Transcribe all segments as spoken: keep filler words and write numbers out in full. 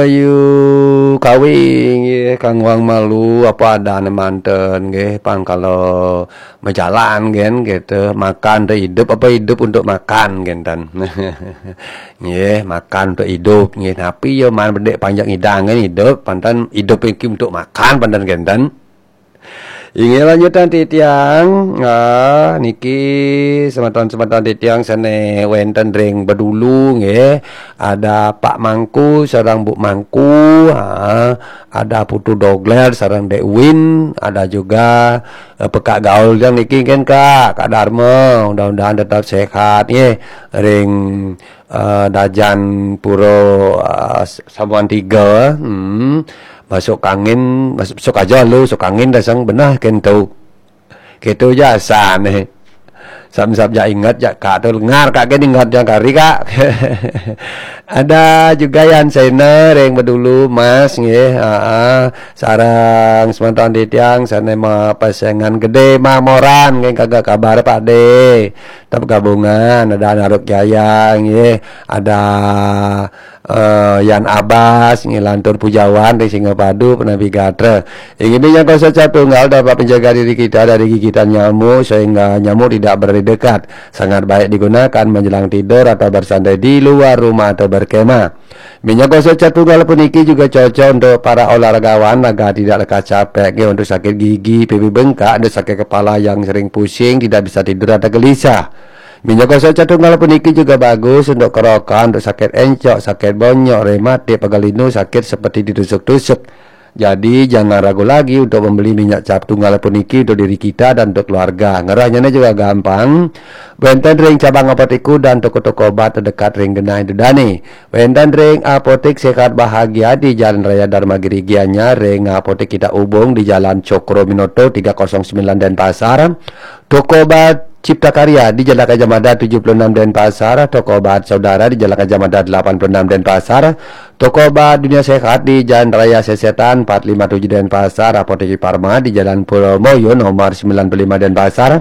Ayu kawin nggih, kangguang malu apa adane manten nggih, pang kalau majalan nggih gitu, makan untuk hidup apa hidup untuk makan nggih ten. Nggih, makan untuk hidup nggih. Napi ya man bedek panjang idang nggih hidup, panten hidup iki untuk makan panten nggih ten. Inggih lanjutan titiang. Ah, niki semeton-semeton titiang sane wenten ring Bedulu nggih. Ada Pak Mangku sareng Bu Mangku, ha, ada Putu Dogler sareng Dek Win, ada juga eh, Pekak Gaul yang niki kan Kak, Kak Darma, mudah-mudahan tetap sehat nggih. Ring eh, Dajan Pura eh, Samuan Tiga, hmm. Masuk angin, masuk, masuk aja lu, masuk angin dasang benah kento. Gitu ja asane. Sam-sam ja inget ja Kak tu lengar Kak kan inget ja kari Kak. Ada juga Yan Sena ring Bedulu Mas nggih. Heeh. Sareng semeton titiang sane ma pasengan gede mamoran nggih kagak kabar Pak De. Tetap gabungan ada Naruk Jaya nggih. Ada eh, Yan Abbas nggih lantur pujawan ring Singapadu penabi gatra. Inggih minyak kosong cap tunggal dapat menjaga diri kita dari gigitan nyamuk sehingga nyamuk tidak berdekat. Sangat baik digunakan menjelang tidur atau bersantai di luar rumah atau berkemah. Minyak gosok cat tunggal puniki juga cocok untuk para olahragawan agar tidak lekas capek nggih, untuk sakit gigi, pipi bengkak, untuk sakit kepala yang sering pusing, tidak bisa tidur atau gelisah. Minyak gosok cat tunggal puniki juga bagus untuk kerokan, untuk sakit encok, sakit bonyok, rematik, pegal linu, sakit seperti ditusuk-tusuk. Jadi jangan ragu lagi untuk membeli minyak cap tunggal puniki untuk diri kita dan untuk keluarga. Ngerahnya juga gampang. Wenten ring cabang apotek dan toko-toko obat terdekat ring genah dane. Wenten ring Apotek Sehat Bahagia di Jalan Raya Dharma Giri Gianyar, ring Apotek Kita Ubung di Jalan Cokro Minoto tiga kosong sembilan Denpasar, Toko Obat Cipta Karya di Jalan Gajah Mada tujuh puluh enam Denpasar, Toko Obat Saudara di Jalan Gajah Mada delapan puluh enam Denpasar, Toko Obat Dunia Sehat di Jalan Raya Sesetan empat lima tujuh Denpasar, Apotek Parma di Jalan Pulau Moyo nomor sembilan puluh lima Denpasar,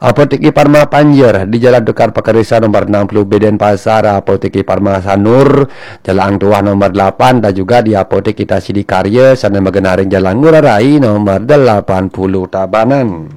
Apotek Parma Panjer di Jalan Tukar Pakarisa nomor enam puluh B Denpasar, Apotek Parma Sanur, Jalan Tuah nomor delapan, dan juga di Apotek Kita Sidikarya, sana magenaring Jalan Ngurah Rai nomor delapan puluh Tabanan.